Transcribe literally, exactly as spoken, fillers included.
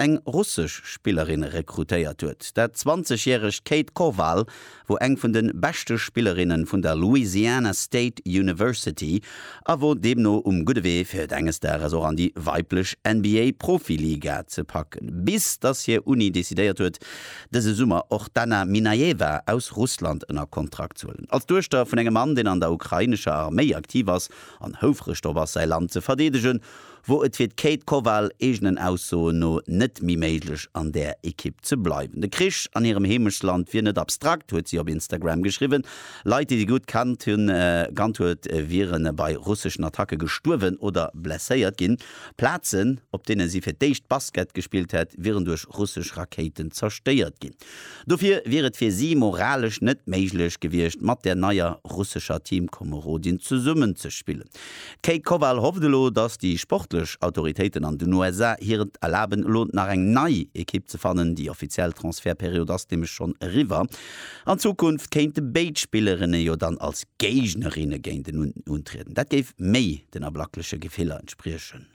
eng russesch Spillerin rekrutéiert huet. Dat zwanzeg-järegt Kate Koval wor eng vun de beschte Spillerinne vun der Louisiana State University a wor deemno um gudde Wee fir et enges Dages och an déi weiblech N B A Profiliga ze packen. Bis dass hir Uni decidéiert huet, dëse Summer och d'Anna Minayeva aus Russland ënner Kontrakt ze huelen. Als Duechter vun engem Mann, deen an der ukrainescher Arméi aktiv ass an houfreg drop ass, säi Land ze verdeedegen, wor et fir d'Kate Koval eegenen Aussoen no net méi méiglech, an där Ekipp ze bleiwen. De Krich an hirem Heemechtsland wier net abstrakt, huet si op Instagram geschriwwen. Leit, déi si gutt kannt hunn, kannt huet, wiere bei russeschen Attacke gestuerwen oder blesséiert ginn. Plazen, op deene si fir d'éischt Basket gespillt hätt, wieren duerch russesch Rakéiten zerstéiert ginn. Dofir wier et fir si moralesch net méiglech gewiescht, mat där neier russescher Teamkomerodin zesummenzespillen. D'Kate Koval hofft elo, datt déi sportlech Autoritéiten an den U S A hir et erlaben, elo nach eng nei Ekipp ze fannen. Déi offiziell Transfertperiod ass nämlech schonn eriwwer. An Zukunft kéinte béid Spillerinne jo dann als Géignerinne géinteneen untrieden. Dat géif méi den ablackleche Gefiller entspriechen.